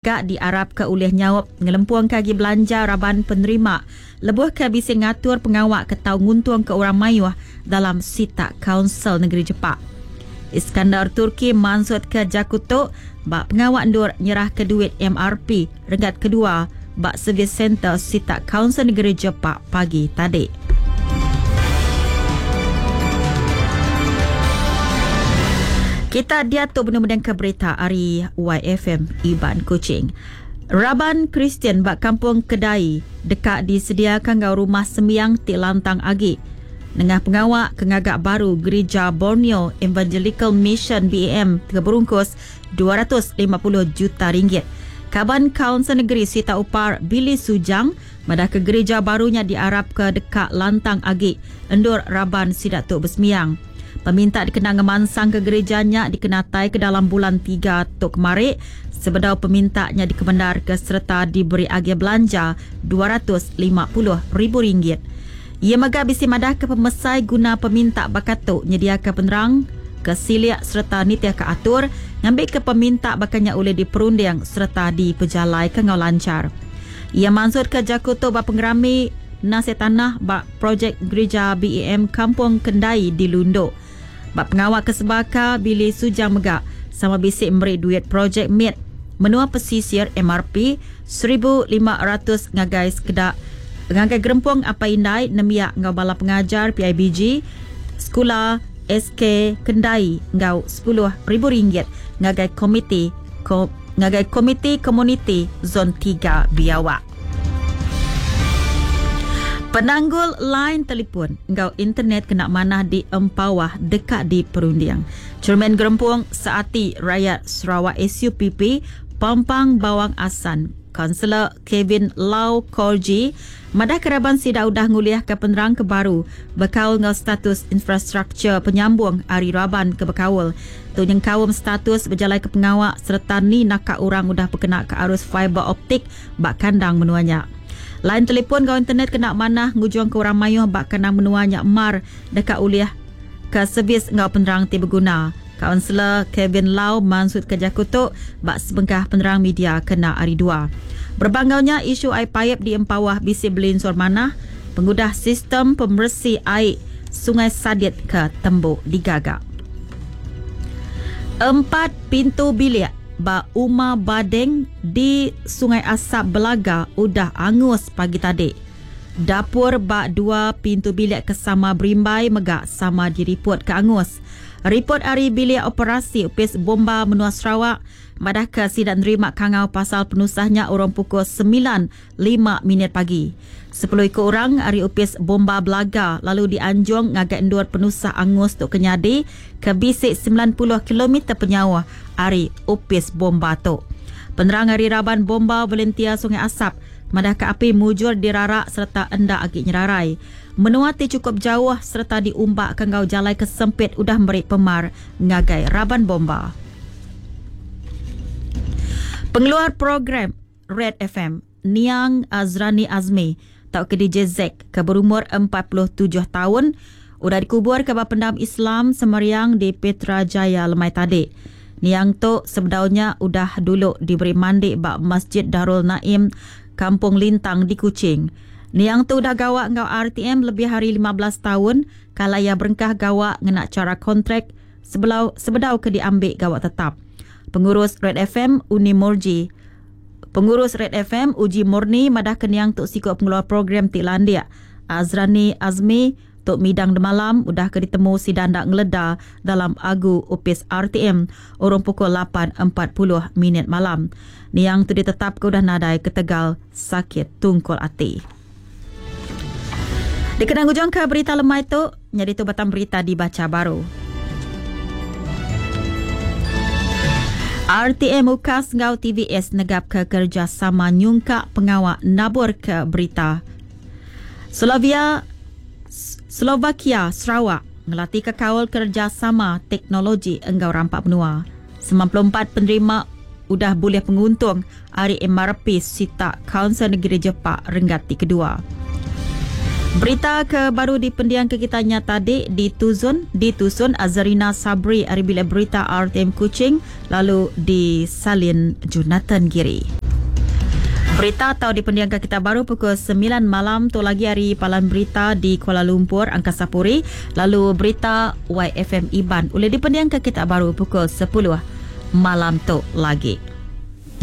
Ga diarapka ulih nyaup ngelempungka agi belanja raban penerima lebuh ke bisi ngatur pengawa ke tau nguntungka orang mayuh dalam sitak Kaunsil Negeri Jepak. Iskandar Turki mansutka jaku tu ba pengawa endur nyerahka duit MRP renggat kedua ba Service Centre sitak Kaunsil Negeri Jepak pagi tadi. Kita diatu benung mendingka berita ari YFM Iban Kuching. Raban Kristian ba Kampung Kedai deka disediaka enggau rumah sembiang ti lantang agi nengah pengawa ke ngaga baru Gerija Borneo Evangelical Mission BEM ke berungkus 250 juta ringgit. Kaban Kaunsil Negeri Sita Upar Billy Sujang Madahka gerija baru nya diarapka deka lantang agi endur raban sida tu besemiang. Peminta dikena ngemansangka gerija nya dikenataika dalam bulan tiga tu kemari sebedau peminta nya dikemendarka sereta diberi agih belanja 250 ribu ringgit. Iya mega bisi madahka pemesai guna peminta baka tu nyediaka penerang ke silik sereta nitihka atur ngambika peminta baka nya ulih diperunding sereta dipejalaika enggau lanchar. Iya mansutka jaku tu ba pengerami nasih tanah ba projek Gerija BEM Kampung Kendai di Lundu. Ba pengawa ke sebaka, Billy Sujang mega sama bisi meri duit projek mit menua pesisir MRP 1500 ngagai sekeda ngagai Gerempung Apai Indai Nembiak enggau Bala Pengajar PIBG Sekula SK Kendai enggau 10,000 ringgit ngagai Komiti ngagai Komiti Komuniti Zon 3 Biawak. Penanggul line telefon enggau internet kena manah di Empawah deka diperunding. Chairman Gerempung Seati Rayat Sarawak SUPP Pampang Bawang Assan, Kaunselor Kevin Lau Korji madahka raban sida udah ngulihka penerang ke baru bekaul enggau status infrastruktur penyambung ari raban ke bekaul. Tu nyengkaum status bejalaika pengawa sereta ni naka orang udah bekenaka arus fiber optik ba kandang menua nya. Line telefon enggau internet kena manah ngujungka orang mayuh ba kandang menua nya mar deka ulih ke servis enggau penerang ti beguna. Kaunselor Kevin Lau mansutka jaku tu ba sebengkah penerang media kena Hari Dua. Berebak enggau nya, isu ai paip di Empawah bisi belinsur manah pengudah sistem pemeresi ai Sungai Sadit ke tembu digaga. Empat pintu bilik ba Uma Badeng di Sungai Asap Belaga udah angus pagi tadi. Dapur ba dua pintu bilik ke sama berimbai mega sama diripotka angus. Ripot ari Bilik Operasi Opis Bomba Menua Sarawak madahka sida nerima kangau pasal penusah nya urung pukul semilan lima minit pagi. Sepuluh iku orang ari Opis Bomba Belaga lalu dianjung ngagai endur penusah angus tu ke nyadi ke bisi 90 kilometer penyauh ari opis bomba tu. Penerang ari raban Bomba Volunteer Sungai Asap madahka api mujur dirarak sereta enda agi nyerarai. Menua ti chukup jauh sereta diumbaka enggau jalai ke sempit udah meri pemar ngagai raban bomba. Pengeluar program Red FM, Niang Azrani Azmi tauka DJ Zack ke berumur 47 taun udah dikuburka ba Pendam Islam Semariang di Petra Jaya lemai tadi. Niang tu sebedau nya udah dulu diberi mandi ba Masjid Darul Naim, Kampung Lintang di Kuching. Niang tu udah gawa enggau RTM lebih ari 15 taun kala iya berengkah gawa ngena chara kontrak sebelau sebedau ke diambi gawa tetap. Pengurus Red FM Uni Murji Pengurus Red FM Uji Murni madahka niang tu siku pengeluar program ti landik. Azrani Azmi Tu midang demalam udah ke ditemu sida enda ngeleda dalam agu opis RTM urung pukul 8.40 minit malam. Niang tu ditetapka udah nadai ketegal sakit tungkul ati. Dikena ngujungka berita lemai tu, nyadi tu batang berita dibacha baru. RTM UKAS enggau TVS negapka kerejasama nyungkak pengawa naburka berita. Slovia Slovakia Sarawak ngelatika kaul kerejasama teknologi enggau rampa menua. 94 penerima udah bulih penguntung ari MRP sitak Kaunsil Negeri Jepak renggat ti kedua. Berita ke baru dipendiang ke kita nya tadi dituzun ditusun Azarina Sabri ari bilik berita RTM Kuching lalu disalin Jonathan Giri. Berita atau dipendiang ke kita baru pukul 9 malam tu lagi hari Palan Berita di Kuala Lumpur Angkasa Puri lalu berita YFM Iban boleh dipendiang ke kita baru pukul 10 malam tu lagi.